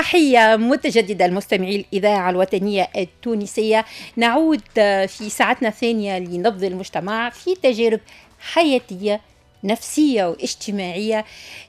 تحية متجددة لمستمعي الإذاعة الوطنية التونسية. نعود في ساعتنا الثانية لنبض المجتمع في تجارب حياتية نفسية واجتماعية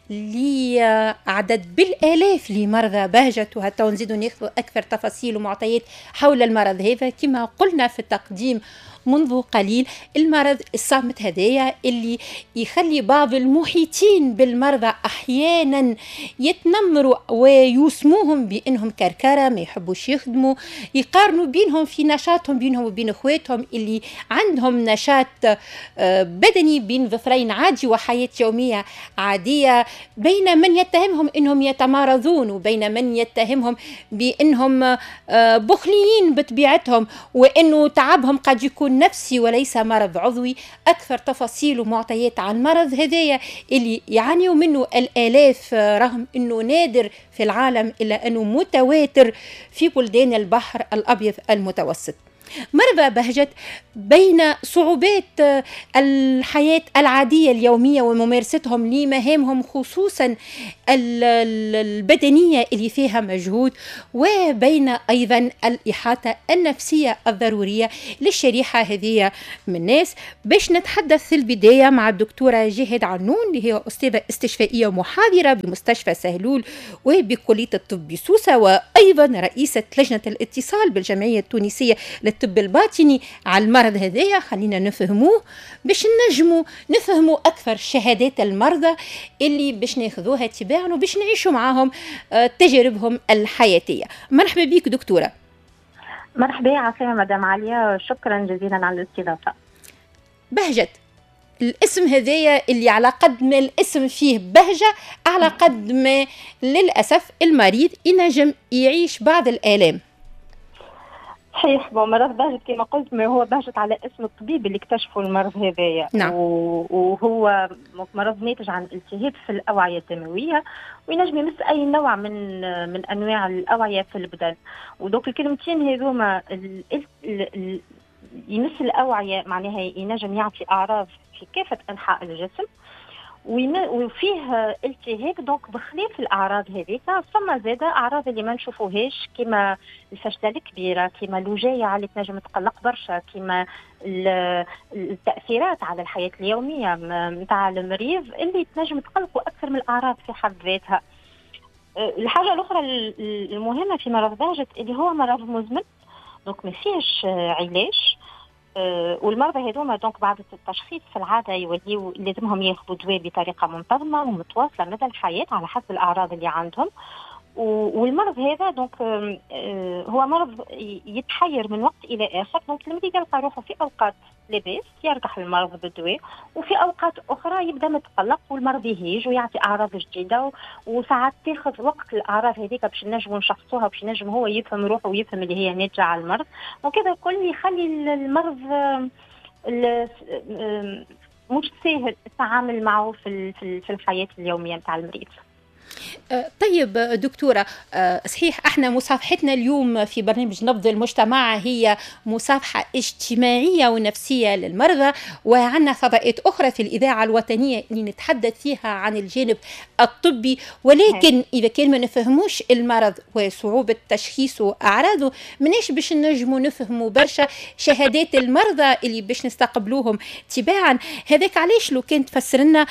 لعدد بالآلاف لمرضى بهجت، وحتى نزيدوا ناخذ أكثر تفاصيل ومعطيات حول المرض هذا. كما قلنا في التقديم منذ قليل، المرض الصامت هذايا اللي يخلي بعض المحيطين بالمرضى احيانا يتنمروا ويسموهم بانهم كركره، ما يحبوش يخدموا، يقارنوا بينهم في نشاطهم بينهم وبين اخواتهم اللي عندهم نشاط بدني بين ظفرين عادي وحياه يومية عاديه، بين من يتهمهم انهم يتمارضون وبين من يتهمهم بانهم بخليين بطبيعتهم وانه تعبهم قد يكون نفسي وليس مرض عضوي. أكثر تفاصيل ومعطيات عن المرض هذايا اللي يعانيوا منه الآلاف، رغم أنه نادر في العالم إلا أنه متواتر في بلدان البحر الأبيض المتوسط. مرضى بهجت بين صعوبات الحياة العادية اليومية وممارستهم لمهامهم خصوصا البدنية اللي فيها مجهود، وبين أيضا الإحاطة النفسية الضرورية للشريحة هذه من الناس. باش نتحدث في البداية مع الدكتورة جهاد عنون اللي هي أستاذة استشفائية ومحاضرة بمستشفى سهلول وبكلية الطب بسوسة، وأيضا رئيسة لجنة الاتصال بالجمعية التونسية للطب الباطني على المرض هذايا. خلينا نفهموه باش نجموا نفهموا أكثر شهادات المرضى اللي باش ناخذوها تباعا وباش نعيشوا معاهم تجاربهم الحياتية. مرحبا بك دكتورة. مرحبا، عسلامة مدام عليا، شكرا جزيلا على الاستضافة. بهجت، الاسم هذايا اللي على قد ما الاسم فيه بهجة على قد ما للأسف المريض ينجم يعيش بعض الآلام. صحيح، bon مرض بهجت كما قلت ما هو بهجت على اسم الطبيب اللي اكتشفوا المرض هذايا. نعم. وهو مرض ناتج عن التهاب في الأوعية الدموية وينجم يمس أي نوع من أنواع الأوعية في البدن. و donc الكلمتين هذوما يمس الأوعية معناها ينجم يعطي أعراض في كافة أنحاء الجسم وفيه التهاب. donc بخلاف الاعراض هذيك ثم زاده اعراض اللي ما نشوفوهاش كيما الفشله الكبيرة، كيما الوجايع اللي تنجم تقلق برشا، كيما التاثيرات على الحياة اليومية نتاع المريض اللي تنجم تقلقه اكثر من الاعراض في حد ذاتها. الحاجة الاخرى المهمة في مرض بهجت اللي هو مرض مزمن، donc ما فيهش علاج. والمرضى هذوما donc بعد التشخيص في العادة يوليو لازمهم ياخذوا دواء بطريقة منتظمة ومتواصله مدى الحياة على حسب الاعراض اللي عندهم. والمرض هذا donc هو مرض يتحير من وقت الى اخر، donc المريض يلقى روحه في اوقات لاباس يركح المرض بالدواء، وفي اوقات اخرى يبدا متقلق والمرض يهيج ويعطي اعراض جديدة، وساعات تاخذ وقت الاعراض هذيك باش نجموا نشخصوها باش نجم هو يفهم روحه ويفهم اللي هي ناتجة على المرض. وكذا الكل يخلي المرض مش سهل التعامل معه في الحياة اليومية نتاع المريض. طيب دكتورة، صحيح احنا مصافحتنا اليوم في برنامج نبض المجتمع هي مصافحة اجتماعية ونفسية للمرضى، وعندنا فضاءات أخرى في الإذاعة الوطنية اللي نتحدث فيها عن الجانب الطبي، ولكن إذا كان ما نفهموش المرض وصعوبة تشخيصه وأعراضه مناش باش نجموا نفهموا برشا شهادات المرضى اللي باش نستقبلوهم تباعا. هذاك علاش لو كان تفسر لنا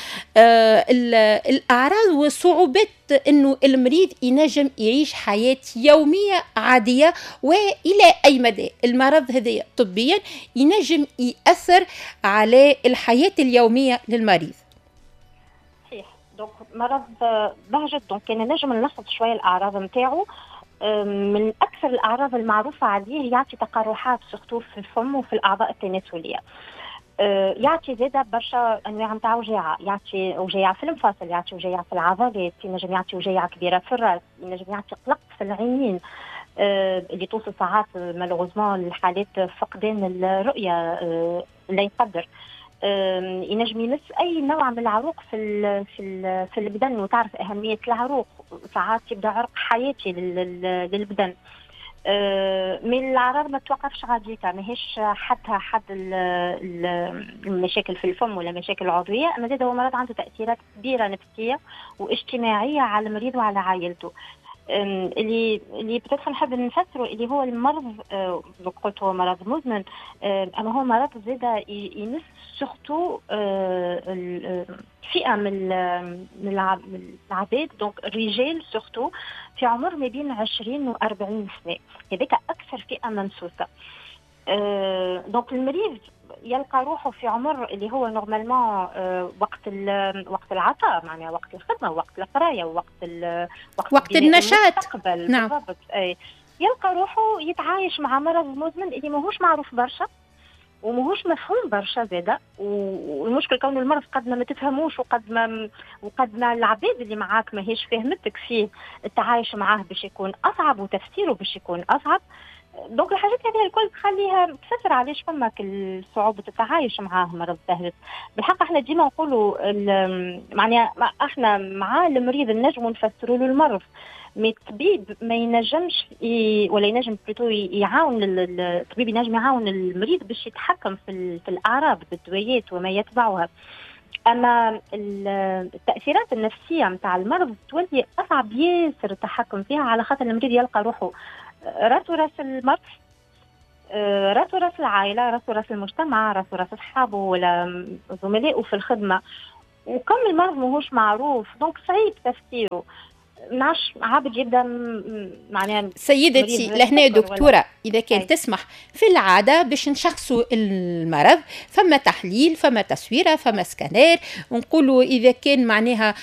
الأعراض وصعوبات انه المريض ينجم يعيش حياة يومية عادية، والى اي مدى المرض هذا طبيا ينجم يأثر على الحياة اليومية للمريض. صحيح، donc مرض بهجت donc كان نجم نلخص شوية الاعراض نتاعو. من اكثر الاعراض المعروفة عليه يعطي تقرحات surtout في الفم وفي الاعضاء التناسلية. يعطي زاده برشا انواع نتاع وجاعه، يعطي وجاعه في المفاصل، يعطي وجاعه في العضلات، ينجم يعطي وجاعه كبيرة في الراس، ينجم يعطي قلق في العينين اللي توصل ساعات malheureusement لحالات فقدان الرؤية لا يقدر. ينجم يمس اي نوع من العروق في البدن، وتعرف اهمية العروق، ساعات يبدا عرق حياتي للبدن. من الاعراض ما توقفش غاديكا، ماهيش حتى حد المشاكل في الفم ولا مشاكل عضوية، اما زاد هو مرض عنده تاثيرات كبيرة نفسية واجتماعية على المريض وعلى عائلته. اللي peut-être نحب نفسره اللي هو المرض، قلت هو مرض مزمن، اما هو مرض زاده يمس surtout فئة من العباد، donc الرجال surtout في عمر ما بين 20 و 40 سنه، هذاك اكثر فئة ممسوسه. donc المريض يلقى روحه في عمر اللي هو normalement وقت العطاء، معناها وقت الخدمة، وقت القرايه، وقت النشاط. نعم بالضبط. اي يلقى روحه يتعايش مع مرض مزمن اللي ماهوش معروف برشا وماهوش مفهوم برشا زاده. والمشكل كون المرض قد ما تفهموش وقد ما العباد اللي معاك ماهيش فهمتك فيه، التعايش معاه باش يكون اصعب وتفسيره باش يكون اصعب. donc الحاجات هذه الكل تخليها تفسر علاش فما صعوبة التعايش معاه مرض بهجت. بالحق احنا ديما نقولوا معناها احنا مع المريض نجموا نفسروا له المرض، mais الطبيب ما ينجمش ولا ينجم plutôt يعاون الطبيب ينجم يعاون المريض باش يتحكم في الاعراض بالدويات وما يتبعها. اما التاثيرات النفسية نتاع المرض تولي اصعب ياسر التحكم فيها، على خاطر المريض يلقى روحه راسه راس المرض، راسه راس العائله، راسه راس المجتمع، راسه راس اصحابه ولا زملائه في الخدمه. وكم المرض ماهوش معروف donc صعيب تفسيره. نعش عابد يبدا معناها. سيدتي لهنا دكتورة اذا كان تسمح، في العادة باش نشخصوا المرض فما تحليل، فما تصويره، فما سكانير، ونقولوا اذا كان معناها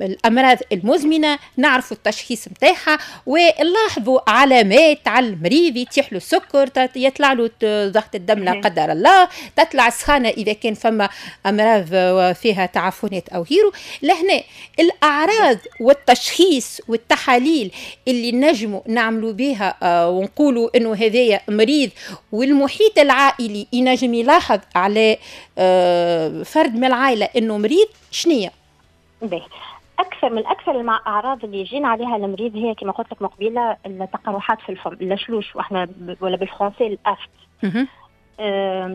الامراض المزمنة نعرفوا التشخيص نتاعها، ونلاحظوا علامات على المريض، يتيح له السكر، يطلع له ضغط الدم لا قدر الله، تطلع السخانه اذا كان فما امراض فيها تعفنات او غيره. لهنا الاعراض والتشخيص والتحاليل اللي نجموا نعملوا بها ونقولوا انه هذايا مريض، والمحيط العائلي ينجم يلاحظ على فرد من العائلة انه مريض، شنية؟ باهي، اكثر من اكثر الاعراض اللي يجينا عليها المريض هي كما قلت لك مقبله التقرحات في الفم، اللشلوش واحنا ولا بالفرنسي l'aphte.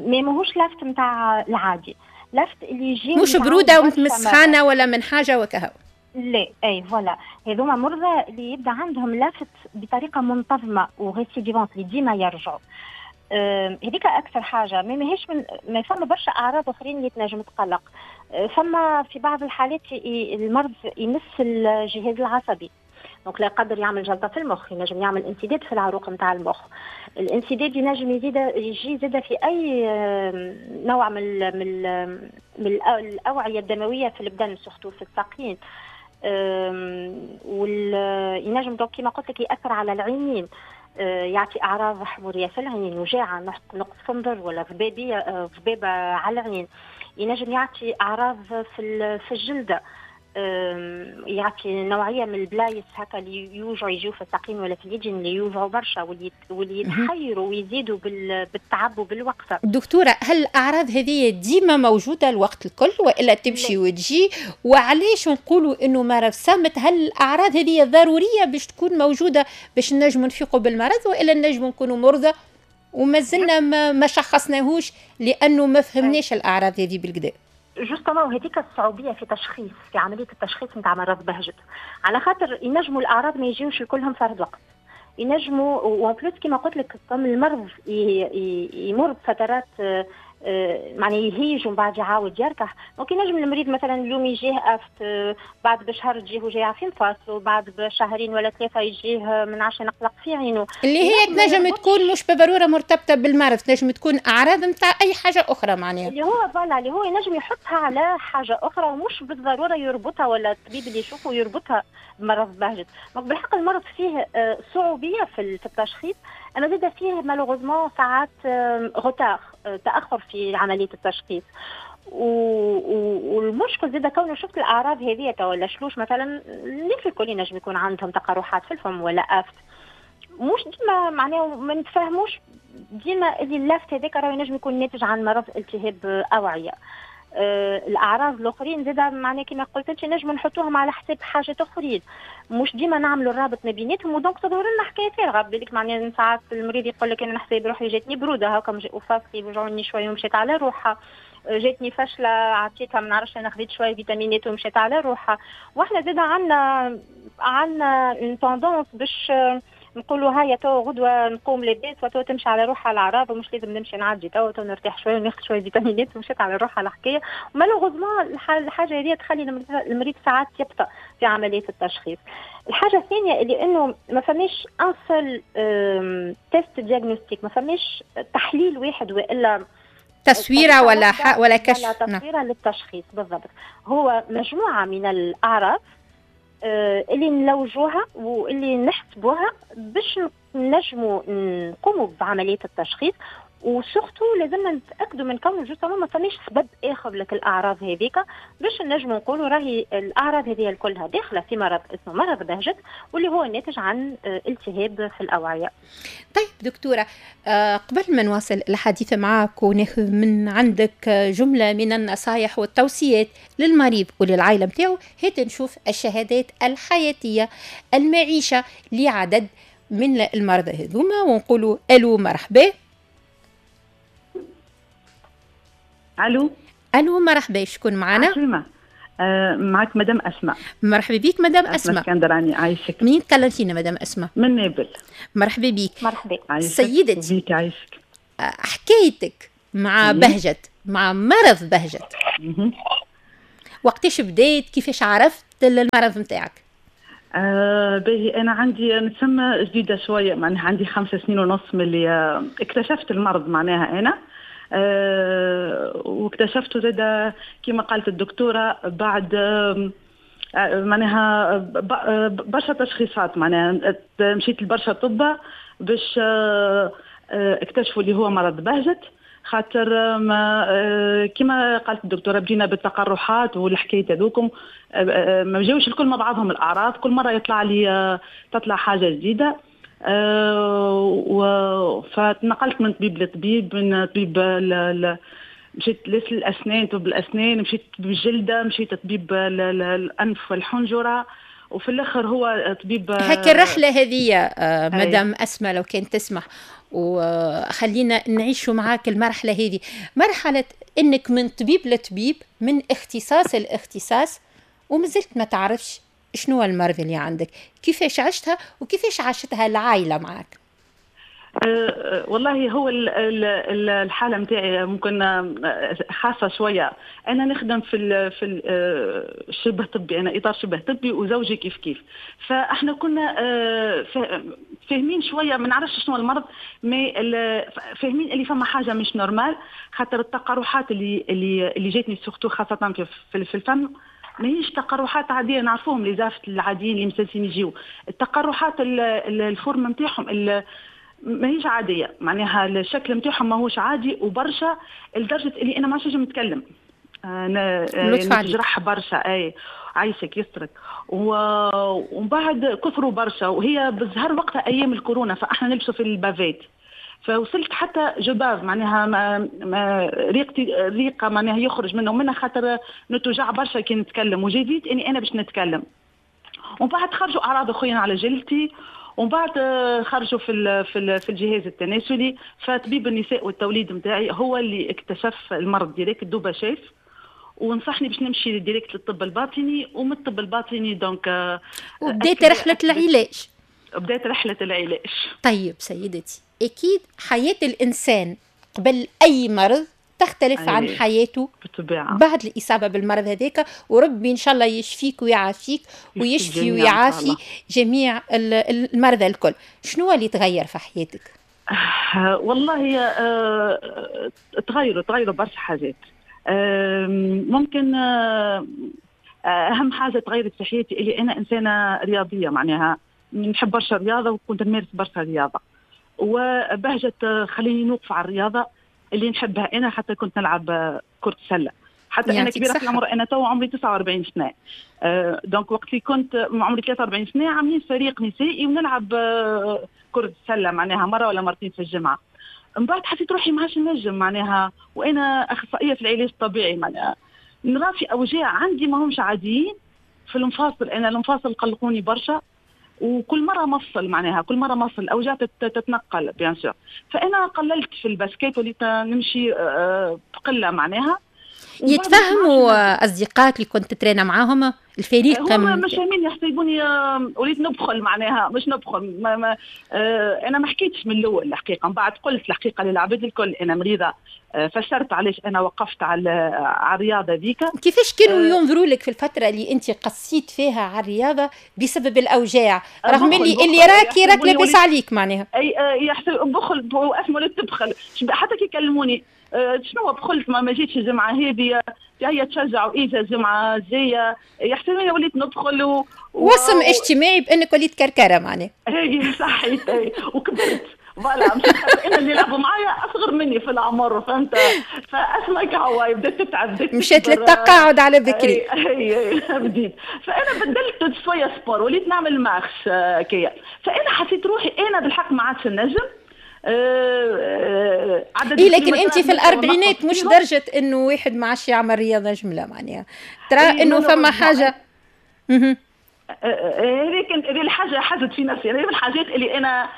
mais ماهوش l'aphte نتاع العادي، l'aphte اللي يجي مش برودة ومن سخانه ولا من حاجة وكهو. لا اي voilà، هذوما مرضى اللي يبدا عندهم l'aphte بطريقة منتظمة و récidivante اللي ديما يرجعوا. هذيك اكثر حاجة. mais ماهيش من ما فما برشا اعراض اخرين اللي تنجم تقلق. فما في بعض الحالات المرض يمس الجهاز العصبي، donc لا قدر يعمل جلطة في المخ، ينجم يعمل انسداد في العروق نتاع المخ. الانسداد ينجم يجي زاد في اي نوع من الاوعية الدموية في البدن، surtout في الساقين. وينجم donc كيما قلت لك ياثر على العينين، يعطي اعراض حموريه في العين، وجاعه، نقص في النظر ولا ضبابه على العين. ينجم يعطي اعراض في الجلدة، يعطي نوعية من البلايص هكا اللي يوجعوا، يجيو في الساقين ولا في اليدين اللي يوجعوا برشا واللي يتحيروا ويزيدوا بالتعب وبالوقفه. دكتورة، هل الاعراض هذه ديما موجودة الوقت الكل والا تمشي وتجي؟ وعلاش نقولوا انه مرض صامت؟ هل الاعراض هذه ضرورية باش تكون موجودة باش نجموا نفيقوا بالمرض، والا نجموا نكونوا مرضى وما زلنا ما شخصناهوش لانه ما فهمناش الاعراض هذه بالكدا؟ justement وهذيك الصعوبيه في تشخيص، في عملية التشخيص نتاع مرض بهجت، على خاطر ينجموا الاعراض ما يجيوش كلهم فرد وقت، ينجموا و en plus كيما قلت لك comme المرض يمر بفترات معناها يهيج ومن بعد يعاود يركح. donc ينجم المريض مثلا اليوم يجيه aphte، بعد بشهر تجيه وجيعه في مفاصله، بعد بشهرين ولا ثلاثة يجيه من عشان نقلق في عينه، اللي هي تنجم تكون مش بالضرورة مرتبطة بالمرض، تنجم تكون اعراض نتاع اي حاجة اخرى، معناها اللي هو voilà اللي هو ينجم يحطها على حاجة اخرى ومش بالضرورة يربطها، ولا الطبيب اللي يشوفه يربطها بمرض بهجت. donc بالحق المرض فيه صعوبيه في التشخيص، اما زاد فيه malheureusement ساعات retard، تاخر في عملية التشخيص. والمشكل زاد كونه شفت الاعراض هذه ولا شلوش مثلا، الناس الكل ينجم يكون عندهم تقرحات في الفم ولا aphte، مش ديما معناها ما نتفاهموش ديما اللي l'aphte هذاك راه ينجم يكون ناتج عن مرض التهاب اوعيه. الاعراض الاخرين زاد معناها كما قلت انت نجم نحطوهم على حساب حاجات اخرين، مش ديما نعملوا الرابط ما بيناتهم، و donc تظهر لنا حكاية فارغة. بالك معناها ساعات المريض يقول لك انا نحسب روحي جاتني برودة هاكا وفاصلي وجعوني شوية ومشيت على روحها، جاتني فشله عطيتها ما نعرفش انا خذيت شوية فيتامينات ومشيت على روحها. واحنا زاد عندنا عندنا une tendance باش نقولوا هيا تو غدوه نقوم لاباس وتو تمشي على روحها الاعراض ومش لازم نمشي نعدي، تو تو نرتاح شوية وناخذ شوية فيتامينات ومشيت على روحها الحكايه. و malheureusement الحاجة هذه تخلي المريض ساعات يبطأ في عملية التشخيص. الحاجة الثانية اللي انه ما فماش un seul test diagnostique، ما فماش تحليل واحد والا تصويره ولا كشف، ولا تصويره للتشخيص بالضبط. هو مجموعة من الاعراض اللي نلوجوها واللي نحسبوها باش نجموا نقوموا بعملية التشخيص، و surtout لازمنا نتاكدوا من كون justement ما فماش سبب اخر لك الاعراض هذيك باش نجموا نقولوا راهي الاعراض هذه كلها داخله في مرض اسمه مرض بهجت واللي هو ناتج عن التهاب في الاوعيه. طيب دكتوره، قبل ما نواصل الحديث معك وناخذ من عندك جملة من النصائح والتوصيات للمريض وللعائله نتاعو، هات نشوف الشهادات الحياتية المعيشة لعدد من المرضى هذوما ونقولوا الو مرحبا. الو الو مرحبا، شكون معنا؟ معك مدام اسماء. مرحبا بك مدام اسماء. اسكندراني، عايشك. منين تكلمتينا مدام اسماء؟ من نابل. مرحبا بك. مرحبا سيدتي. بك عايشك. حكايتك مع بهجت، مع مرض بهجت، وقتاش بديت؟ كيفاش عرفت المرض نتاعك؟ باهي، انا عندي نتسمى جديدة شوية، معناها عندي 5.5 سنين من اللي اكتشفت المرض معناها انا. واكتشفته زاد كما قالت الدكتورة بعد معناها برشا تشخيصات، معناها مشيت لبرشا طب باش اكتشفوا اللي هو مرض بهجت، خاطر ما كما قالت الدكتورة بدينا بالتقرحات والحكاية هذوكم، ما جاوش الكل مع بعضهم الاعراض، كل مرة يطلع لي تطلع حاجة جديدة. فتنقلت من طبيب لطبيب، من طبيب مشيت للاسنان، طبيب الاسنان، مشيت طبيب الجلدة، مشيت طبيب الانف والحنجره، وفي الاخر هو طبيب. هكا الرحلة هذه مدام اسماء لو كان تسمح وخلينا نعيشوا معاك المرحلة هذه، مرحلة انك من طبيب لطبيب، من اختصاص لاختصاص، ومازلت ما تعرفش شنو المرض اللي عندك، كيفاش عشتها وكيفاش عاشتها العائلة معك؟ والله هو الحالة متاعي ممكن خاصة شوية. أنا نخدم في شبه طبي، أنا إطار شبه طبي وزوجي كيف كيف، فإحنا كنا فاهمين شوية، ما نعرفش شنو المرض، mais فاهمين اللي فما حاجة مش normale، خاطر التقرحات اللي جاتني surtout خاصة في الفم ماهيش تقرحات عادية نعرفوهم les aphtes العاديين اللي مسلسين يجيو، التقرحات ال forme نتاعهم ماهيش عادية، معناها الشكل نتاعهم ماهوش عادي وبرشا، لدرجة اللي انا ما عادش نجم نتكلم، نجرح برشا. اي عايشك يسترك. ومن بعد كثروا برشا، وهي بالزهر وقتها ايام الكورونا، فاحنا نلبسوا في ال bavette، فوصلت حتى je bave معناها ما ريقتي ريقه معناها يخرج منه ومنها، خاطر نتوجع برشا كي نتكلم، وجديد اني انا باش نتكلم. ومن بعد خرجوا اعراض اخرين على جلدتي، ومن بعد خرجوا في الجهاز التناسلي، فطبيب النساء والتوليد نتاعي هو اللي اكتشف المرض direct، دوبا شاف ونصحني باش نمشي direct للطب الباطني، ومن الطب الباطني donc وبدات رحله العلاج. بدات رحله العلاج. طيب سيدتي، أكيد حياة الإنسان قبل أي مرض تختلف عن حياته بالطبيعة بعد الإصابة بالمرض هذاك، وربي إن شاء الله يشفيك ويعافيك ويشفي ويعافي جميع المرضى الكل. شنو اللي تغير في حياتك؟ والله تغيروا برشا حاجات. ممكن أهم حاجة تغيرت في حياتي اللي أنا إنسانة رياضية، معناها نحب برشا رياضة وكنت نمارس برشا رياضة، وبهجت خليني نوقف على الرياضة اللي نحبها أنا، حتى كنت نلعب كرة سلة، حتى أنا كبيرة في العمر، أنا تو عمري 49 سنة، donc وقت اللي كنت عمري 43 سنة عاملين فريق نسائي ونلعب كرة سلة معناها مرة ولا مرتين في الجمعة. من بعد حسيت روحي ما عادش نجم معناها، وأنا أخصائية في العلاج الطبيعي، معناها نرى في أوجاع عندي ما همش عاديين في المفاصل، أنا المفاصل قلقوني برشا، وكل مرة مفصل معناها كل مرة مفصل الاوجاع تتنقل bien sûr. فانا قللت في ال basket وليت نمشي بقلة معناها. يتفهموا اصدقائك اللي كنت تترينا معاهم الفريق؟ هما مش فاهمين، يحسبوني وليت نبخل، معناها مش نبخل. ما ما انا ما حكيتش من الاول الحقيقه، من بعد قلت الحقيقة للعباد الكل انا مريضه، فسرت علاش انا وقفت على الرياضة ذيك. كيفاش كانوا ينظروا لك في الفترة اللي انت قصيت فيها على الرياضة بسبب الاوجاع، رغم اللي راك راك لاباس عليك معناها؟ اي يحسب بخل واسمه لا تبخل، حتى كي يكلموني شنو بخلت ما جيتش الجمعة هذه، هي تشجع واجا الجمعة الجاية، يحسبوني وليت ندخل وسم اجتماعي بانك وليت كركره معناها. اي صحيت، وكبرت voilà، مش انا اللي يلعبوا معايا اصغر مني في العمر، فهمت؟ فاسمك هو بدات تتعب، بدات مشيت للتقاعد على بكري. اي بديت، فانا بدلت شوية sport، وليت نعمل marche كيا، فانا حسيت روحي انا بالحق ما عادش نجم. إيه لكن انت في الاربعينات مش درجه انه واحد ما عادش يعمل رياضة جملة معناها، ترى انه فما حاجة. هذه هذه الحاجة حزت في نفسي، هذه الحاجات اللي انا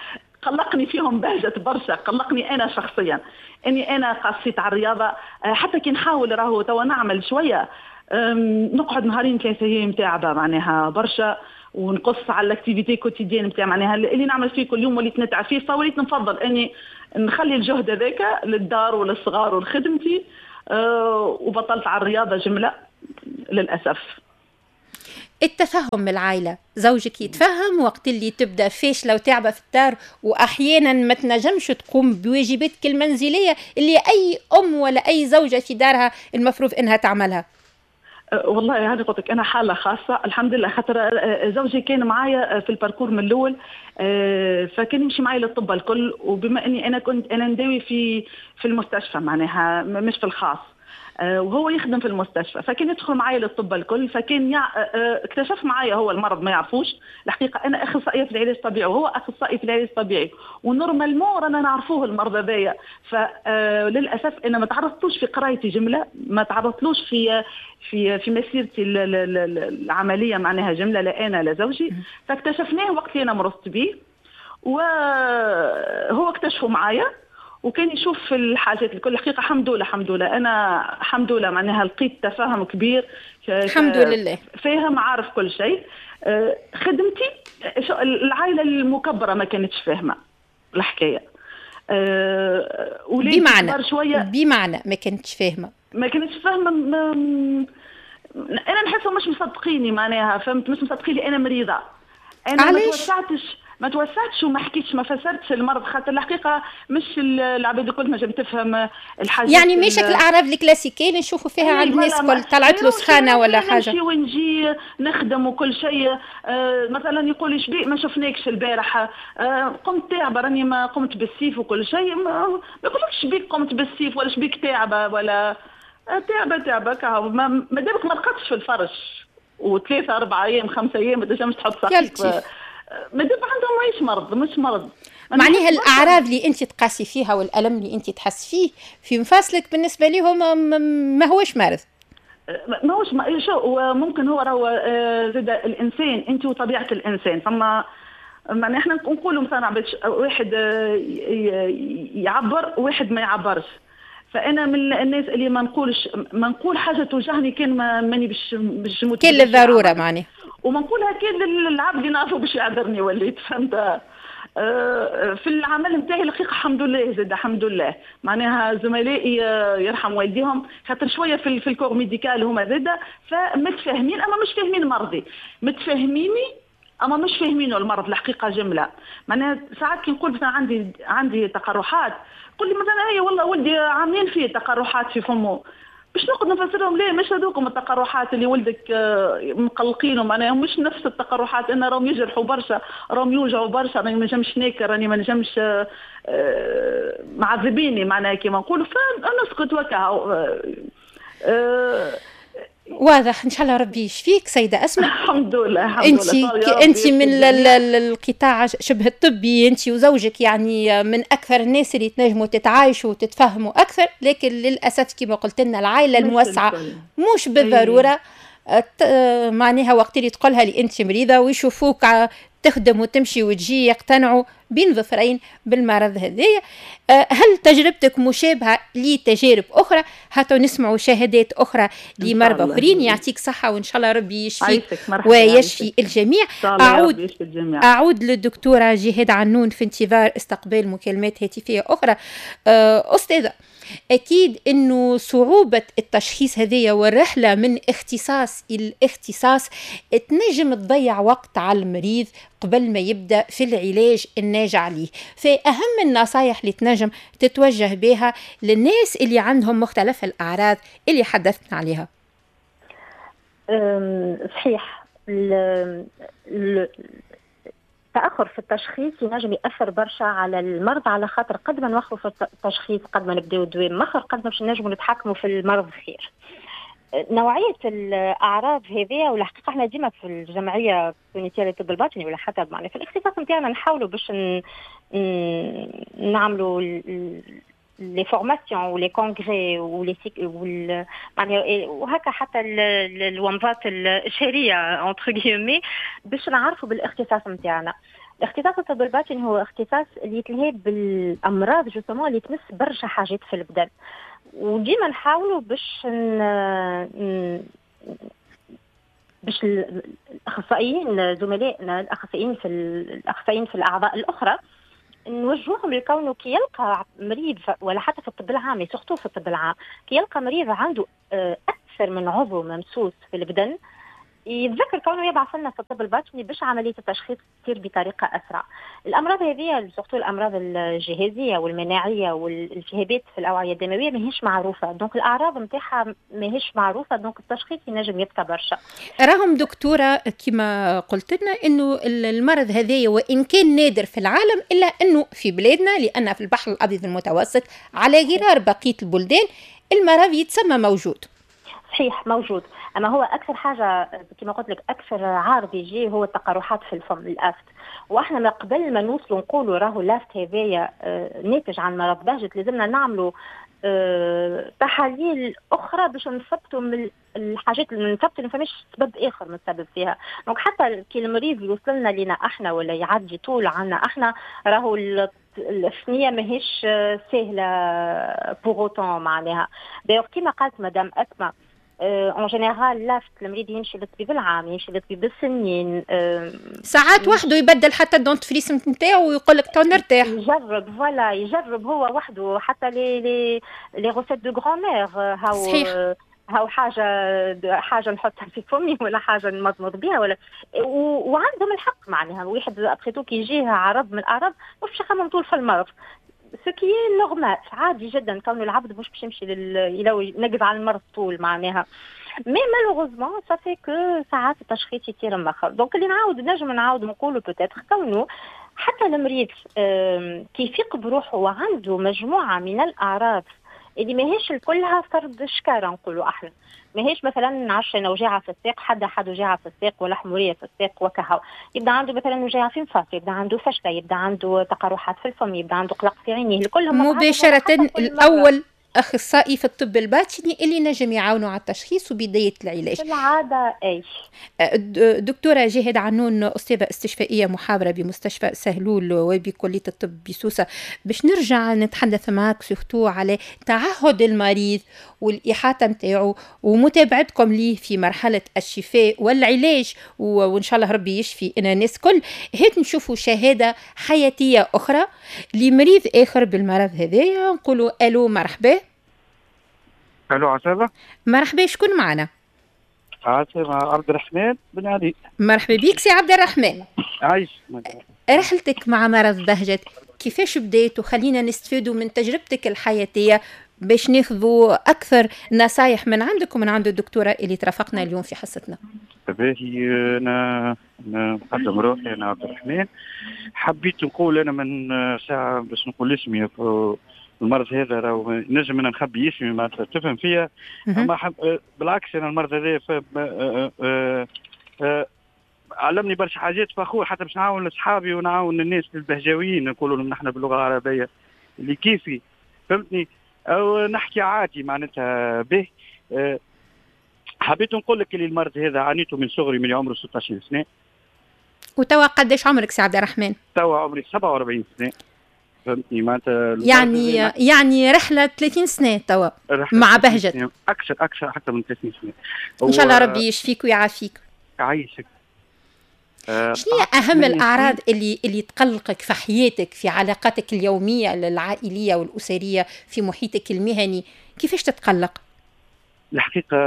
قلقني فيهم بهجت برشا، قلقني انا شخصيا اني انا قصيت على الرياضة. حتى كي نحاول راهو توا نعمل شوية، نقعد نهارين ثلاثة ايام تعبه معناها برشا، ونقص على l'activité quotidienne نتاع معناها اللي نعمل فيه كل يوم وليت نتعب فيه، فوليت نفضل اني نخلي الجهد هذاك للدار وللصغار ولخدمتي، وبطلت على الرياضة جملة للاسف. التفهم من العائلة، زوجك يتفهم وقت اللي تبدا فاشلة وتعبه في الدار واحيانا ما تنجمش تقوم بواجباتك المنزلية اللي اي ام ولا اي زوجه في دارها المفروض انها تعملها؟ والله هذه قلت لك انا حاله خاصة الحمد لله، خاطر زوجي كان معايا في ال parcours من الاول، فكان يمشي معايا للطب الكل، وبما اني انا كنت انا نداوي في المستشفى معناها مش في الخاص، وهو يخدم في المستشفى، فكان يدخل معايا للطب الكل، فكان اكتشف معايا هو المرض ما يعرفوش الحقيقة. انا اخصائية في العلاج الطبيعي وهو اخصائي في العلاج الطبيعي، و normalement رانا نعرفوه المرض هذايا، فللاسف انا ما تعرضتلوش في قرايتي جملة، ما تعرضتلوش في في في مسيرتي العملية معناها جملة، لا انا لا زوجي، فاكتشفناه وقت اللي انا مرضت به، وهو اكتشفه معايا وكان يشوف في الحاجات الكل. الحقيقة الحمد لله، الحمد لله انا الحمد لله معناها لقيت تفاهم كبير، الحمد لله، فاهم عارف كل شيء. خدمتي العائلة المكبره ما كانتش فاهمه الحكاية. بمعنى شوية، بمعنى ما كانتش فاهمه، ما كانتش فاهمه، انا نحسهم مش مصدقيني معناها، فهمت؟ مش مصدقيني انا مريضه، انا ما توسعتش وما حكيتش، ما فسرتش المرض، خاطر الحقيقة مش العباد الكل ما تفهم الحاجات، يعني مش الاعراض الكلاسيكية اللي نشوفوا فيها عند الناس الكل، طلعت له سخانه ولا حاجة، نمشي ونجي نخدم وكل شيء. مثلا يقول لي شبيك ما شفناكش البارح، قمت تعبه راني ما قمت بالسيف وكل شيء، ما يقولكش شبيك قمت بالسيف ولا شبيك تعبه ولا تعبه تعبه كهو، ما دامك ما رقدتش في الفرش وثلاثة 4 ايام 5 ايام ما تنجمش تحط ساقيك، ما دام عندهم ماهيش مرض، مش مرض معناها. الاعراض اللي انت تقاسي فيها والالم اللي انت تحس فيه في مفاصلك بالنسبة لهم ما هوش مرض، ما هوش شو. وممكن هو راهو زاد الانسان انت وطبيعه الانسان، فما معناها احنا نقولوا مثلا واحد يعبر واحد ما يعبرش، فانا من الناس اللي ما نقولش، ما نقول حاجة توجعني كان ماني باش نموت، كان للضرورة معناها، وما نقولها كان للعبد اللي نعرفه باش يعذرني وليت، فهمت؟ في العمل نتاعي الحقيقة الحمد لله زاد الحمد لله معناها زملائي يرحم والديهم، خاطر شوية في ال corps médical هما زاد فمتفاهمين، اما مش فاهمين مرضي، متفاهميني اما مش فاهمينه المرض الحقيقة جملة. معناها ساعات كي نقول مثلا عندي تقرحات، قول لي مثلا هي والله ولدي عاملين فيه تقرحات في فمه، باش نقعد نفسرهم ليه مش هذوكم التقرحات اللي ولدك مقلقينه، معناها مش نفس التقرحات، انا راهم يجرحوا برشا، راهم يوجعوا برشا، راني ما نجمش ناكل، راني ما نجمش معذبيني معناها كيما نقولوا، فنسكت وكا. واضح. ان شاء الله ربي يشفيك سيده اسماء. الحمد لله الحمد لله. انت من القطاع شبه الطبي، انت وزوجك يعني من اكثر الناس اللي تنجموا تتعايشوا وتتفهموا اكثر، لكن للاسف كما قلت لنا العائلة الموسعه مش بالضرورة معناها وقت اللي تقولها اللي انت مريضه ويشوفوك تخدم وتمشي وتجي يقتنعوا بين ظفرين بالمرض هذايا. هل تجربتك مشابهة لتجارب أخرى؟ حتى نسمعوا شهادات أخرى لمرضى آخرين. يعطيك صحة وإن شاء الله ربي يشفيك ويشفي الجميع. أعود للدكتورة جهاد عنون في انتظار استقبال مكالمات هاتفية أخرى. أستاذة، أكيد أنه صعوبة التشخيص هذه والرحلة من اختصاص إلى اختصاص تنجم تضيع وقت على المريض قبل ما يبدأ في العلاج الناجع ليه. فأهم النصائح اللي تنجم تتوجه بها للناس اللي عندهم مختلف الأعراض اللي حدثنا عليها. صحيح، التأخر في التشخيص ينجم يأثر برشا على المرض، على خاطر قد ما نوخروا في التشخيص قد ما نبداو الدواء مخر قد ما باش نجموا نتحكموا في المرض خير. نوعية الأعراض هذه، والحقيقة احنا ديما في الجمعية التونسية للطب الباطني ولا حتى معنا في الاختصاص نتاعنا نحاولوا باش نعملوا les formations و les congrès و les وهكا حتى الومضات الشهرية entre guillemets باش نعرفوا بالاختصاص نتاعنا. الاختصاص الطب الباطني هو اختصاص اللي يتلهي بالامراض justement اللي تمس برشا حاجات في البدن، وديما نحاولوا باش باش الاخصائيين زملائنا الاخصائيين في الاعضاء الاخرى نوجههم لكونه كي يلقى مريض، ولا حتى في الطب العام، surtout في الطب العام، كي يلقى مريض عنده اكثر من عضو ممسوس في البدن يتذكر كونه يبعث لنا في الطب الباطني باش عملية التشخيص تصير بطريقة اسرع. الامراض هذه surtout الامراض الجهازيه والمناعيه والالتهابات في الاوعية الدموية ماهيش معروفة، donc الاعراض نتاعها ماهيش معروفة، donc التشخيص ينجم يبقى برشا. راهم دكتورة كما قلت لنا انه المرض هذايا وان كان نادر في العالم الا انه في بلادنا، لان في البحر الابيض المتوسط على غرار بقية البلدان المرض يتسمى موجود. صحيح موجود، اما هو اكثر حاجة كما قلت لك اكثر عارض يجي هو التقرحات في الفم، l'aphte. واحنا ما قبل ما نوصلوا نقولوا راهو l'aphte هذايا ناتج عن مرض بهجت لازمنا نعملوا تحاليل اخرى باش نثبتوا من الحاجات اللي نثبتوا ما فماش سبب اخر متسبب فيها. donc حتى كي المريض يوصل لنا لينا احنا ولا يعدي طول عنا احنا راهو الثنية ماهيش سهلة pour autant معناها. d'ailleurs كيما قالت مدام اسماء en général l'aphte المريض يمشي للطبيب العام، يمشي للطبيب السنين، ساعات وحده يبدل حتى ال dentifrice نتاعو ويقول لك تو نرتاح، يجرب voilà يجرب هو وحده حتى les recettes de grand-mère، هاو هاو حاجة نحطها في فمي ولا حاجة نمضمض بها ولا وعندهم الحق معناها. واحد après tout كي يجيه عرض من الاعراض مش باش يخمم طول في المرض، ce qui est normal عادي جدا كون العبد مش باش يمشي ينقز على المرض طول معناها. mais malheureusement ça fait que ساعات التشخيص يصير مأخر. donc اللي نعاود نجم نعاود نقولوا peut-être كونه حتى المريض كي يفيق بروحه وعنده مجموعة من الاعراض اللي ماهيش كلها فرد شكاره نقولوا احنا، ماهيش مثلا نعرفش انا وجاعه في الساق، حد وجاعه في الساق ولا حموريه في الساق وكهو، يبدا عنده مثلا وجاعه في الفاس، يبدا عنده فشله، يبدا عنده تقرحات في الفم، يبدا عنده قلق في عينيه، كلهم مباشرة الاول اخصائي في الطب الباطني اللي نجم يعاونوا على التشخيص وبداية العلاج. في العادة اي. دكتورة جهاد عنون، استاذه استشفائيه محاضرة بمستشفى سهلول وبكليه الطب بسوسه، باش نرجع نتحدث معك surtout على تعهد المريض والاحاطة نتاعو ومتابعتكم ليه في مرحلة الشفاء والعلاج، وان شاء الله ربي يشفي ان الناس كل. هات نشوفوا شهادة حياتيه اخرى لمريض اخر بالمرض هذايا، نقولوا الو مرحبا. الو عسامة. مرحبا، شكون معنا؟ عسامة عبد الرحمن بن علي. مرحبا بيك سي عبد الرحمن. عايش. رحلتك مع مرض بهجت كيفاش بديت؟ وخلينا نستفيدوا من تجربتك الحياتية باش ناخذوا أكثر نصايح من عندك ومن عند الدكتورة اللي ترافقنا اليوم في حصتنا. باهي، أنا نقدم روحي، أنا عبد الرحمن. حبيت نقول أنا من ساعة باش نقول اسمي، المرض هذا راهو نجم انا نخبي اسمي معناتها تفهم فيا، اما بالعكس انا المرض هذا علمني برشا حاجات، فخور حتى باش نعاون اصحابي ونعاون الناس البهجاويين نقولوا لهم نحن باللغة العربية اللي كيفي، فهمتني، او نحكي عادي معناتها به. حبيت نقول لك اللي المرض هذا عانيته من صغري، من عمره 16 سنة. وتوا قداش عمرك سي عبد الرحمن؟ توا عمري 47 سنة. فهمتني معناتها يعني رحله 30 سنة توا مع بهجت. اكثر حتى من 30 سنة. ان شاء الله ربي يشفيك ويعافيك. يعيشك. شنو هي اهم الاعراض اللي تقلقك في حياتك، في علاقاتك اليومية العائلية والاسرية، في محيطك المهني، كيفاش تتقلق؟ الحقيقة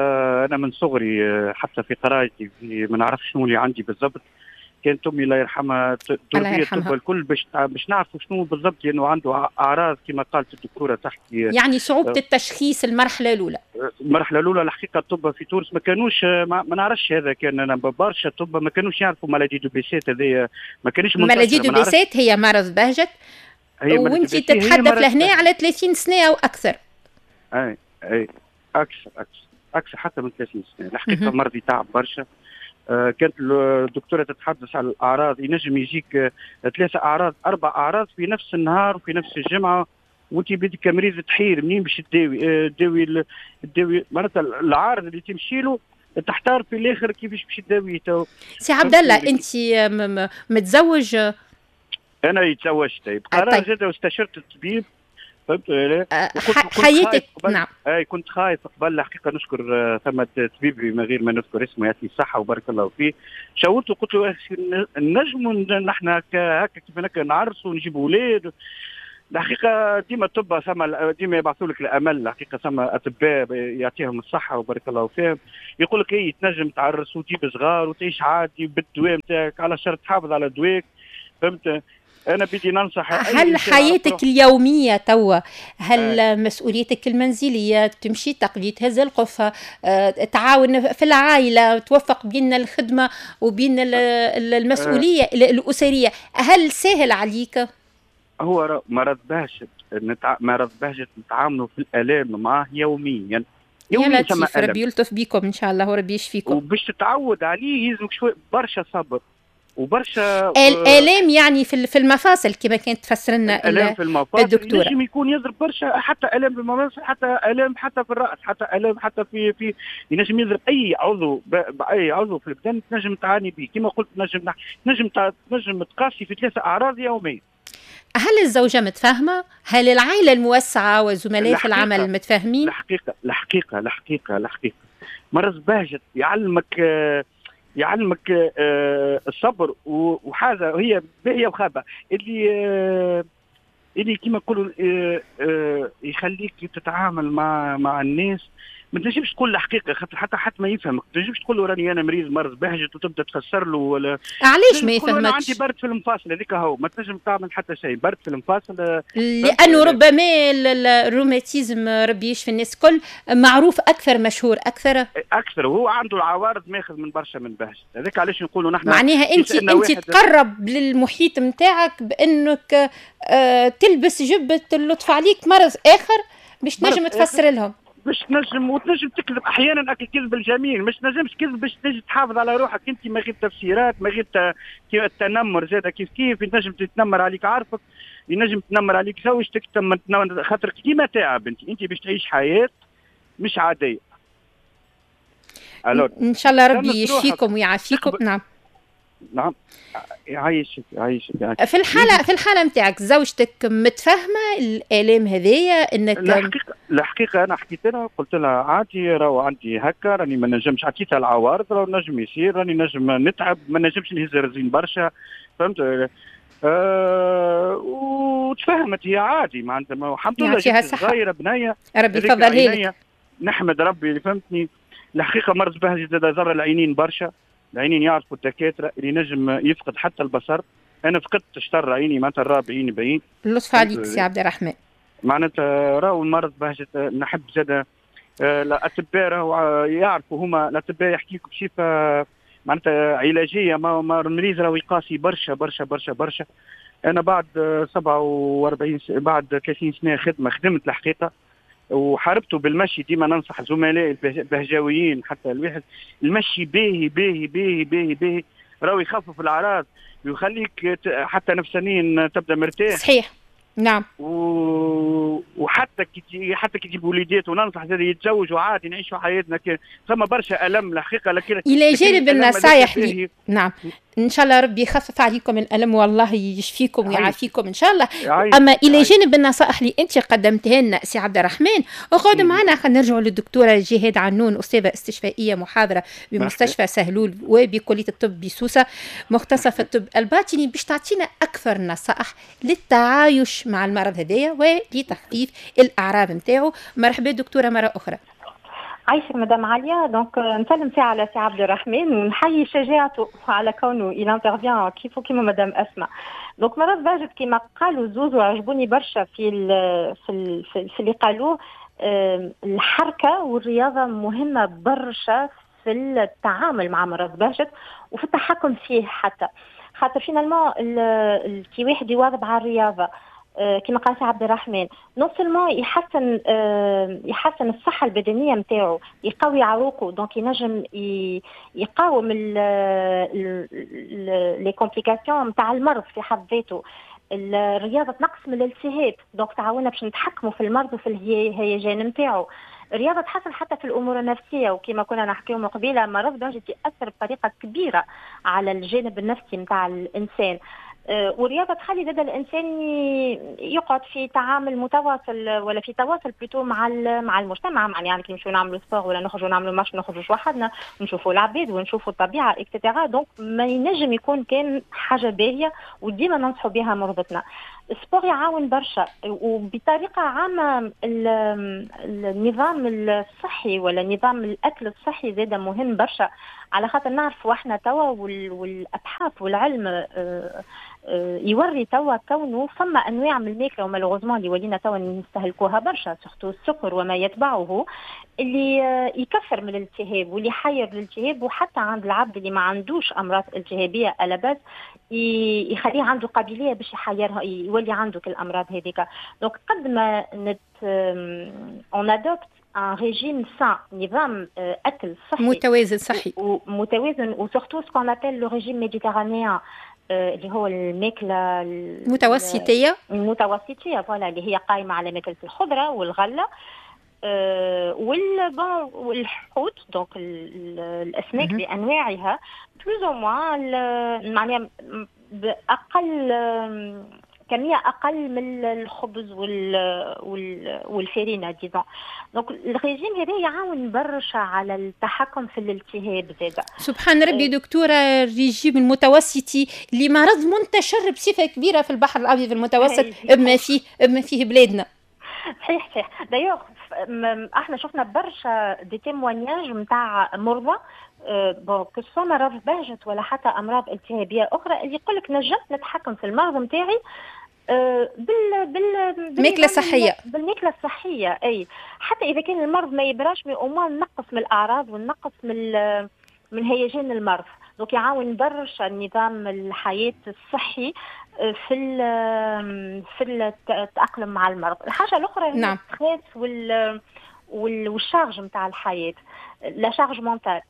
انا من صغري حتى في قرايتي ما نعرفش شنو اللي عندي بالضبط. كانت امي الله يرحمها تدور بيا الطب الكل باش نعرفوا شنو بالضبط، لانه عنده اعراض كما قالت الدكتورة تحكي، يعني صعوبة التشخيص المرحلة الاولى. المرحلة الاولى الحقيقة الطب في تونس ما كانوش، ما نعرفش هذا، كان انا برشا طب ما كانوش يعرفوا maladie de Behçet، هذايا ما كانش منتشر. maladie de Behçet هي مرض بهجت، وانت تتحدث لهنا على 30 سنة او اكثر. اي اي اكثر حتى من 30 سنة. الحقيقة مرضي تعب برشا. كانت الدكتورة تتحدث على الاعراض، ينجم يجيك 3 اعراض 4 اعراض في نفس النهار وفي نفس الجمعة، وانت بدك كمريض تحير منين باش تداوي. تداوي معناتها العارض اللي تمشي له تحتار في الاخر كيفاش باش تداوي. سي عبد الله انت متزوج؟ انا تزوجت بقرار زاد واستشرت الطبيب، فهمت؟ حياتك. نعم. اي كنت خايف قبل الحقيقة. نشكر ثم طبيبي من غير ما نذكر اسمه، يعطيه الصحة وبارك الله فيه. شاورته قلت له نجموا نحن هكا كيف هكا نعرسوا ونجيبوا اولاد. الحقيقة ديما الطب ثم ديما يبعثوا لك الامل. الحقيقة ثم اطباء يعطيهم الصحة وبارك الله فيهم، يقول لك اي تنجم تعرس وتجيب صغار وتعيش عادي بالدواء نتاعك على شرط تحافظ على دواك، فهمت؟ أنا بدي ننصح. هل حياتك اليومية توا، هل مسؤوليتك المنزلية، تمشي تقضي، تهز القفة، تعاون في العائلة، توفق بين الخدمة وبين المسؤولية الأسرية، هل سهل عليك؟ هو مرض بهجت، مرض بهجت نتعاملوا في الآلام معاه يوميا. يا لطيف، ربي يلطف بكم إن شاء الله وربي يشفيكم. وباش تتعود عليه يلزمك شوي برشا صبر وبرشا الالام، يعني في المفاصل كما كانت تفسر لنا الالام في المفاصل الدكتورة. ينجم يكون يضرب برشا، حتى الام في المفاصل، حتى الام حتى في الراس، حتى الام حتى في ينجم يضرب اي عضو، باي عضو في البدن تنجم تعاني به. كما قلت تنجم تقاسي في 3 اعراض يوميا. هل الزوجة متفاهمه؟ هل العائلة الموسعه وزملاء في العمل متفاهمين؟ الحقيقة الحقيقة الحقيقة الحقيقة مرض بهجت يعلمك الصبر، وحاجه هي باهيه وخابه اللي كما نقولوا يخليك تتعامل مع الناس. ما تنجمش تقول الحقيقة خاطر حتى ما يفهمك، ما تنجمش تقول له راني انا مريض مرض بهجت وتبدا تفسر له ولا علاش ما يفهمكش. انا عندي برد في المفاصل هذيك هو، ما تنجم تعمل حتى شيء، برد في المفاصل. لانه ربما الروماتيزم ربي يشفي الناس الكل معروف اكثر، مشهور اكثر، وهو عنده العوارض ماخذ من برشا من بهجت. هذاك علاش نقولوا نحن معناها انت تقرب للمحيط نتاعك بانك تلبس جبه اللطف عليك مرض اخر باش تنجم تفسر لهم، باش تنجم وتنجم تكذب احيانا الكذب الجميل، مش تنجمش كذب باش تنجم تحافظ على روحك انت من غير تفسيرات، من غير التنمر زاد كيف كيف ينجم تتنمر عليك عارفك، ينجم تنمر عليك زوجتك، خاطر كيما تعب انت باش تعيش حياة مش عادية. ان شاء الله ربي يشفيكم ويعافيكم. نعم نعم، يعيشك يعيشك. في الحالة نتاعك زوجتك متفاهمه الالام هذيا انك؟ الحقيقة انا حكيت لها قلت لها عادي، راهو عندي هكا، راني ما نجمش، عطيتها العوارض، راهو نجم يصير، راني نجم نتعب، ما نجمش نهز رزين برشا، فهمت؟ وتفهمت هي عادي، معناتها الحمد لله صغيرة بنيه، ربي يفضلها لك، نحمد ربي، فهمتني؟ الحقيقة مرض بهجت زاد ضر العينين برشا، العينين يعرفوا الدكاترة اللي نجم يفقد حتى البصر. انا فقدت شطر عيني، معناتها الرابع عيني بعيد. اللطف عليك سي عبد الرحمن. معناتها راهو المرض بهجت نحب زاد الاطباء راهو يعرفوا، هما الاطباء يحكيك بصفة معناتها علاجية، ما المريض راهو يقاسي برشا برشا برشا برشا. انا بعد 47 بعد 30 سنة خدمة، خدمت الحقيقة وحاربته بالمشي. ديما ننصح زملائي البهجاويين حتى الواحد المشي باهي باهي باهي باهي باهي، راهو يخفف الاعراض ويخليك حتى نفسانيا تبدا مرتاح. صحيح. نعم. وحتى كي تجيب وليدات، وننصح زاد يتزوجوا عادي، نعيشوا حياتنا. ثم برشا الم الحقيقه، لكن الى جانب النصائح لي. نعم، ان شاء الله ربي يخفف عليكم الالم والله يشفيكم ويعافيكم ان شاء الله. اما الى جانب النصائح اللي انت قدمتها لنا سي عبد الرحمن، اقعد معنا، خلينا نرجعوا للدكتوره جهاد عنون، استاذه استشفائيه محاضرة بمستشفى سهلول وبكليه الطب بسوسه، مختصة في الطب الباطني، باش تعطينا اكثر نصائح للتعايش مع المرض هذايا ولتخفيف الاعراض نتاعو. مرحبا دكتورة مرة اخرى. عايشك مدام عليا. donc نسلم ساعة على سي عبد الرحمن ونحيي شجاعته على كونه il intervient كيفو كيما مدام اسماء. donc مرض بهجت كيما قالوا زوز، وعجبوني برشا في ال في ال في اللي قالوه، الحركة والرياضة مهمة برشا في التعامل مع مرض بهجت وفي التحكم فيه، حتى خاطر finalement كي واحد يواظب على الرياضة كما قال سي عبد الرحمن، non seulement يحسن الصحة البدنية نتاعو، يقوي عروقه، donc ينجم يقاوم les complications نتاع المرض في حد ذاته. الرياضة تنقص من الالتهاب، donc تعاوننا باش نتحكموا في المرض وفي الهيجان نتاعو. الرياضة تحسن حتى في الامور النفسيه، وكما كنا نحكيو من قبيلة، مرض بهجت ياثر بطريقة كبيرة على الجانب النفسي نتاع الانسان. والرياضة تخلي زاد الانسان يقعد في تعامل متواصل ولا في تواصل plutôt مع المجتمع، يعني كي نمشيو نعملوا sport ولا نخرجوا نعملوا marche، نخرجوا وحدنا نشوفوا العباد ونشوفوا الطبيعة et cetera. donc ما ينجم يكون كان حاجة باهيه، وديما ننصحوا بها مرضتنا. ال sport يعاون برشا، وبطريقة عامة النظام الصحي ولا نظام الاكل الصحي زاد مهم برشا، على خاطر نعرفوا احنا توا والابحاث والعلم يوري توا كونه فما انواع من الماكلة، و malheureusement اللي ولينا توا نستهلكوها برشا، surtout السكر وما يتبعه، اللي يكثر من الالتهاب واللي يحير الالتهاب، وحتى عند العبد اللي ما عندوش امراض التهابيه à la base يخليه عنده قابلية باش يحيرها، يولي عنده كل الامراض هذيك. donc قد ما نت on adopte un régime sain، نظام اكل صحي متوازن، صحي ومتوازن، و surtout ce qu'on appelle le régime méditerranéen، اللي هو الماكلة المتوسطيه. المتوسطيه voilà، اللي هي قائمة على ماكله الخضرة والغلة وال bon والحوت، donc الاسماك بانواعها plus ou moins، معناها باقل كمية اقل من الخبز والفارينه disons. donc الريجيم هذا يعاون برشا على التحكم في الالتهاب زاده. سبحان ربي دكتوره، الريجيم المتوسطي اللي مرض منتشر بصفة كبيرة في البحر الابيض المتوسط بما فيه بلادنا. صحيح صحيح. d'ailleurs احنا شفنا برشا des témoignages نتاع مرضى، bon que ce soit مرض بهجت ولا حتى امراض التهابيه اخرى، اللي يقول لك نجمت نتحكم في المرض نتاعي بال بالماكله الصحيه. بالماكله الصحيه، اي حتى اذا كان المرض ما يبراش، mais au moins نقص من الاعراض ونقص من هيجان المرض. donc يعاون برشا نظام الحياة الصحي في التاقلم مع المرض. الحاجة الاخرى هي ال stress وال charge نتاع الحياه، la charge mentale.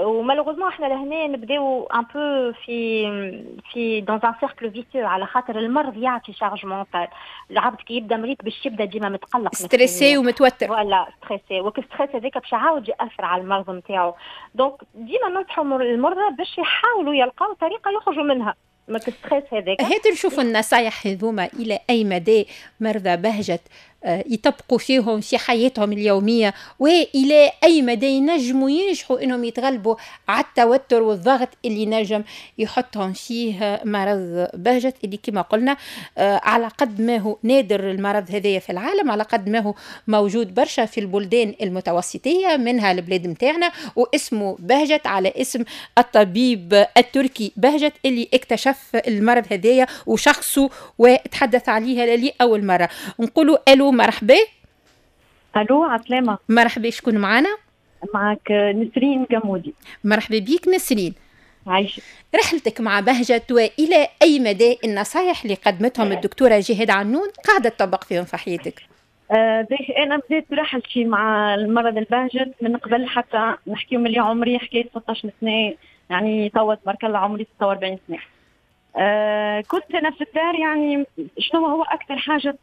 و malheureusement احنا لهنا نبداو un peu في dans un cercle vicieux، على خاطر المرض يعطي charge mentale. العبد كي يبدا مريض باش يبدا ديما متقلق، stressé ومتوتر. voilà، stressé، وك stress هذاك باش يعاود ياثر على المرض نتاعو. donc ديما ننصحوا المرضى باش يحاولوا يلقاو طريقه يخرجوا منها من stress هذاك. هات نشوفوا النصايح هذوما الى اي مدى مرضى بهجت يطبقوا فيهم في حياتهم اليومية، وإلى أي مدى ينجموا ينجحوا إنهم يتغلبوا على التوتر والضغط اللي نجم يحطهم فيه مرض بهجت، اللي كما قلنا على قد ما هو نادر المرض هذايا في العالم، على قد ما هو موجود برشا في البلدان المتوسطية، منها البلاد متاعنا، واسمه بهجت على اسم الطبيب التركي بهجت اللي اكتشف المرض هذايا وشخصه وتحدث عليها لأول مرة. نقولوا ألو، مرحبا. الو، عسلامة. مرحبا، شكون معنا؟ معك نسرين جمودي. مرحبا بيك نسرين. عايشة. رحلتك مع بهجة، وإلى أي مدى النصائح اللي قدمتهم الدكتورة جهاد عنون قاعدة تطبق فيهم في حياتك؟ انا بديت رحلتي مع المرض البهجت من قبل حتى نحكيو من اللي عمري حكاية 16 سنه، يعني توا تبارك الله عمري 46 سنه. كنت انا في الدار يعني شنو هو اكثر حاجة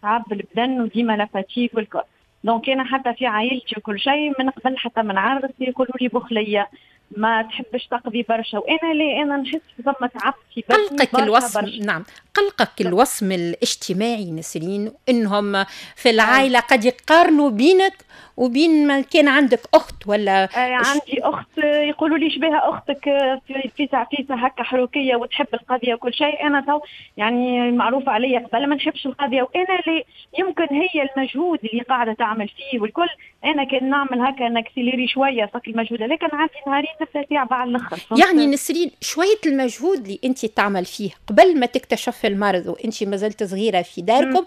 تعب البدن وديما la fatigue والكل. donc انا حتى في عائلتي وكل شيء من قبل حتى من عرضتي يقولوا لي بخليه ما تحبش تقضي برشا، وانا ليه انا نحس ثم تعب في بدني. قلقك الوصم برشا. نعم، قلقك الوصم الاجتماعي نسرين، انهم في العائلة قد يقارنوا بينك وبين ما كان عندك اخت ولا عندي اخت يقولوا لي شبيها اختك في فيسع هكا حروكيه وتحب القضية وكل شيء. انا تو يعني معروف عليا قبل ما نحبش القضية، وانا لي يمكن هي المجهود اللي قاعدة تعمل فيه والكل، انا كان نعمل هكا ن accélérer شوية فك المجهود، لكن عندي نهارين نبدا تعب على الاخر. يعني نسرين شوية المجهود اللي انت تعمل فيه قبل ما تكتشف المرض وانت ما زلت صغيرة في داركم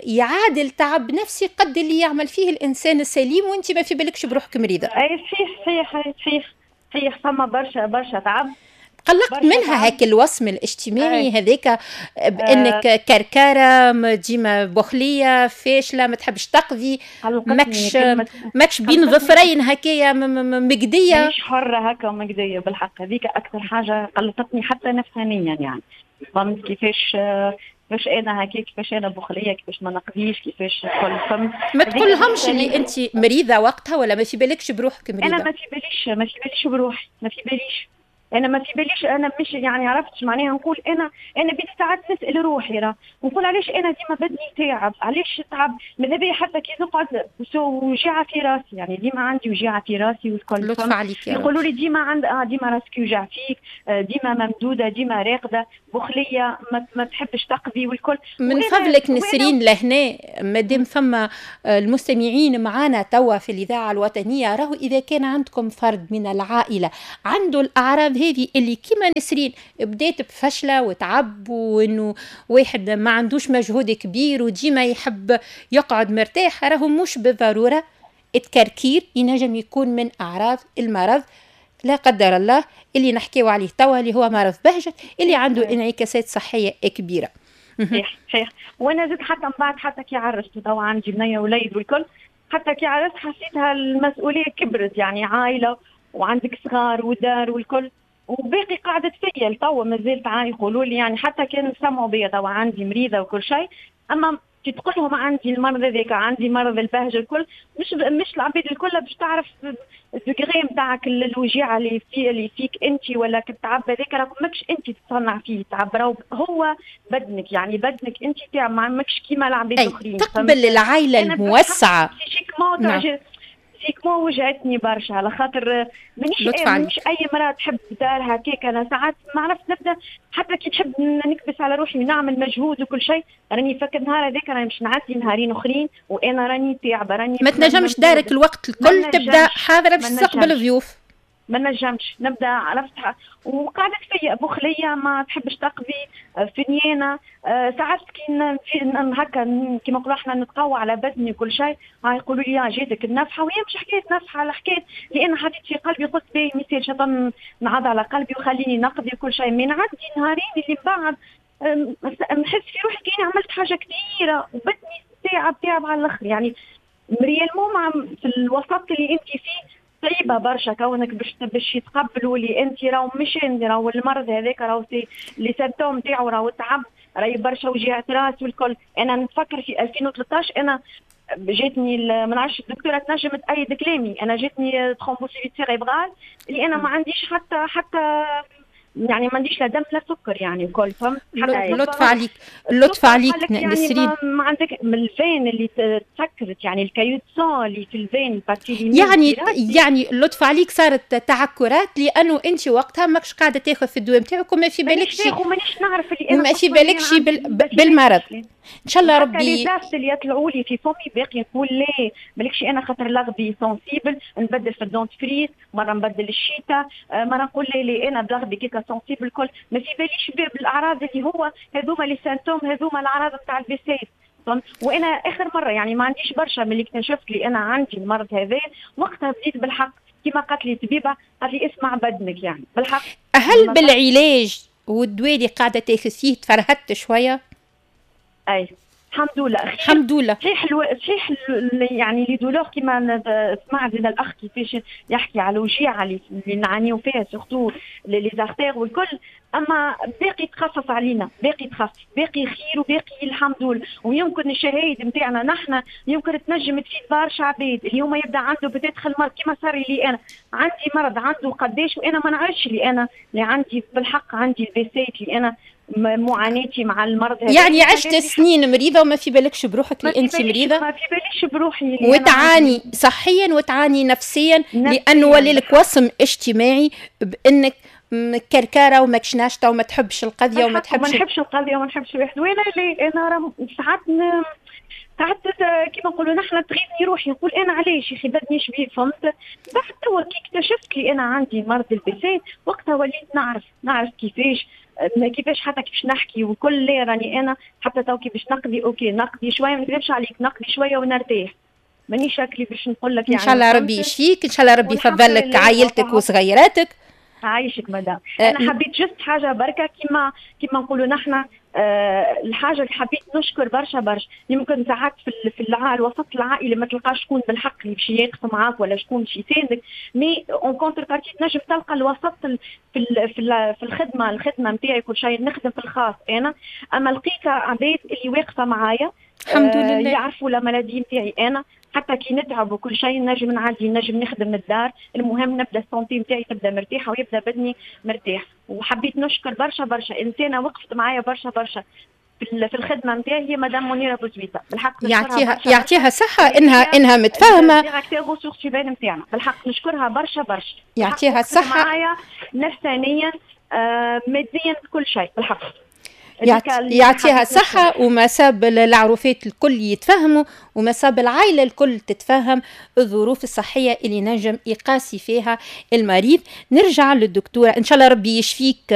يعادل تعب نفسي قد اللي يعمل فيه الانسان السليم وانت ما في بالكش بروحك مريضه. اي صحيح صحيح صحيح صحيح، فما برشا برشا تعب. قلقت منها هاك الوصم الاجتماعي هذاك بانك كركره ديما بخليه فاشلة ما تحبش تقضي، ماكش بين ظفرين هكايا مقديه، مش حره هكا ومقديه. بالحق هذيك اكثر حاجة قلقتني حتى نفسانيا يعني، فهمت كيفاش كيفاش انا هكا، كيفاش انا بخليه، كيفاش ما نقضيش، كيفاش كل. فهمت ما تقولهمش اللي انت مريضه وقتها ولا ما في بالكش بروحك مريضه؟ انا ما في باليش، ما في باليش بروحي، ما في باليش انا، ما في باليش انا مش يعني عرفتش معناها. نقول انا بديت ساعات نسال روحي راه، نقول علاش انا ديما بدني تعب، علاش تعب ماذا بيا حتى كي نقعد وجيعه في راسي، يعني ديما عندي وجيعه في راسي والكل. لطف عليك يا يقولوا لي ديما عند ديما راسك يوجع فيك، ديما ممدوده، ديما راقده، بخليه، ما تحبش تقضي والكل. من فضلك نسرين لهنا مادام فما المستمعين معانا توا في الاذاعة الوطنية، راهو اذا كان عندكم فرد من العائلة عنده الاعراض هذه اللي كما نسرين بدات بفشله وتعب وانه واحد ما عندوش مجهود كبير وديما يحب يقعد مرتاح، راهو مش بالضرورة التكركير ينجم يكون من اعراض المرض لا قدر الله اللي نحكيو عليه توا اللي هو مرض بهجت اللي عنده انعكاسات صحية كبيرة. صحيح صحيح. وانا زدت حتى من بعد حتى كي عرست توا عندي بنيه وليد والكل، حتى كي عرست حسيتها المسؤولية كبرت، يعني عائلة وعندك صغار ودار والكل، وباقي قاعدة فيا لتوا مازالت يقولوا لي يعني حتى كانوا سمعوا بيا توا عندي مريضة وكل شيء، أما كي تقول لهم عندي المرض هذاك، عندي مرض البهجة الكل، مش العباد الكل باش تعرف ال degré نتاعك الوجيعة اللي فيك أنت ولا التعب هذاك، راك ماكش أنت تصنع فيه تعب، راهو هو بدنك، يعني بدنك أنت تاع ماكش كيما العباد الآخرين. تقبل العائلة الموسعة. نعم. physiquement وجعتني برشا على خاطر مانيش اي مراة تحب دارها هكاك. انا ساعات ما عرفت نبدا حتى كي تحب نكبس على روحي ونعمل مجهود وكل شيء، راني فك النهار هذاك راني باش نعدي نهارين اخرين وانا راني تعبه، راني ما تنجمش دارك الوقت الكل تبدا حاضره باش تستقبل ضيوف، ما نجمش نبدا عرفت. وقعدت فيا بخليه ما تحبش تقضي فنيانه، ساعات كي هكا كيما نقولوا احنا نتقوى على بدني وكل شيء، يقولوا لي جاتك النفحه، وهي مش حكاية نفحة على حكاية لان حطيت في قلبي قلت باهي مثال شيطان نعض على قلبي وخليني نقضي وكل شيء، من عندي نهارين اللي من بعد نحس في روحي كاني عملت حاجة كبيرة وبدني تعب تعب على الاخر. يعني réellement في الوسط اللي انت فيه صعيبة برشا كونك باش يتقبلوا اللي انت راهو مش انت راهو المرض هذاك راهو les symptômes تاعو راهو تعب، راهي برشا وجيعه راس والكل. انا نتفكر في 2013 انا جاتني ما نعرفش الدكتورة تنجم تأيد كلامي، انا جاتني thrombophlébite cérébrale اللي انا ما عنديش حتى يعني ما عنديش لا دم لا سكر يعني الكل، فهمت؟ لطف عليك، لطف عليك يعني نسرين. ما عندك من ال veine اللي تسكرت يعني ال caillot de sang اللي في ال veine ال partie يعني لطف عليك صارت تعكرات لانه انت وقتها ماكش قاعدة تاخذ في الدواء نتاعك وما في بالكش، ومانيش نعرف اللي انا ما في بالكش بالمرض. ان شاء الله ربي les aphtes اللي يطلعوا لي في فمي باقي نقول لا مالكش انا خاطر لغبي sensible نبدل في ال dentifrice، مرة نبدل الشيتا، مرة نقول لا لا انا بلغبي كيكا sensible الكل، ما في باليش بالاعراض اللي هو هذوما les symptômes هذوما الاعراض نتاع ال VCS. وانا اخر مرة يعني ما عنديش برشا من اللي اكتشفت لي انا عندي المرض هذا، وقتها بديت بالحق كما قالت لي الطبيبة، قالت لي اسمع بدنك يعني بالحق. هل بالعلاج والدواء اللي قاعدة تاخذ فيه تفرهدت شوية؟ اي الحمد لله. الحمد لله. صحيح صحيح، يعني les douleurs كيما سمعت الاخ كيفاش يحكي على الوجيعه اللي نعانيو فيها، surtout les artères والكل، اما باقي تخفف علينا، باقي تخفف، باقي خير وباقي الحمد لله. ويمكن الشهايد نتاعنا نحن يمكن تنجم تفيد برشا عباد اليوم يبدا عنده peut-être المرض كيما صار لي انا، عندي مرض عنده قداش وانا ما نعرفش اللي انا اللي عندي، بالحق عندي ال Behçet، اللي انا معاناتي مع المرض هذا. يعني عشت سنين مريضه وما في بالكش بروحك اللي انت مريضه؟ ما في باليش بروحي. وتعاني صحيا وتعاني نفسيا، لانه ولي لك وصم اجتماعي بانك كركاره وماكش ناشطة وما تحبش القضية وما تحبش ما نحبش القضية وما نحبش الواحد. وانا لي انا راه ساعات ساعات كيما نقولوا نحن تغيظني روحي، نقول انا علاش يا اخي بدني شبيه، فهمت؟ بعد توا كي اكتشفت لي انا عندي مرض ال Behçet، وقتها وليت نعرف كيفاش حتى كيفاش نحكي وكل. راني انا حتى تو كي باش نقضي، OK نقضي شويه، ما نكذبش عليك، نقضي شوية ونرتاح، مانيش شكلي باش نقول لك. يعني ان شاء الله ربي يشفيك، ان شاء الله ربي يفضل لك عائلتك وصغيراتك. عايشك مدام. انا حبيت juste حاجة بركه، كيما نقولوا نحن الحاجة اللي حبيت نشكر برشا برشا، يمكن ساعات في الوسط العائلي ما تلقاش شكون بالحق اللي باش يقف معاك ولا شكون باش يساندك، mais en contrepartie تنجم تلقى الوسط في الخدمه نتاعي كل شيء، نخدم في الخاص انا، اما لقيت عباد اللي واقفة معايا. الحمد لله. يعرفوا la maladie نتاعي انا، حتى كي نتعب وكل شيء نجم نعدي، نجم نخدم من الدار، المهم نبدا ال santé نتاعي تبدا مرتاحة ويبدا بدني مرتاح. وحبيت نشكر برشا برشا انسانه وقفت معايا برشا برشا في الخدمة نتاعي، هي مدام منيرة بوزويته، بالحق. يعطيها صحة انها متفاهمه. directeur ressources humaines نتاعنا، بالحق نشكرها برشا برشا. يعطيها الصحه. معايا نفسانيا، ماديا، كل شيء بالحق. يعطيها صحة، وما ساب العروفات الكل يتفهموا وما ساب العائلة الكل تتفهم الظروف الصحية اللي نجم يقاسي فيها المريض. نرجع للدكتورة، إن شاء الله ربي يشفيك.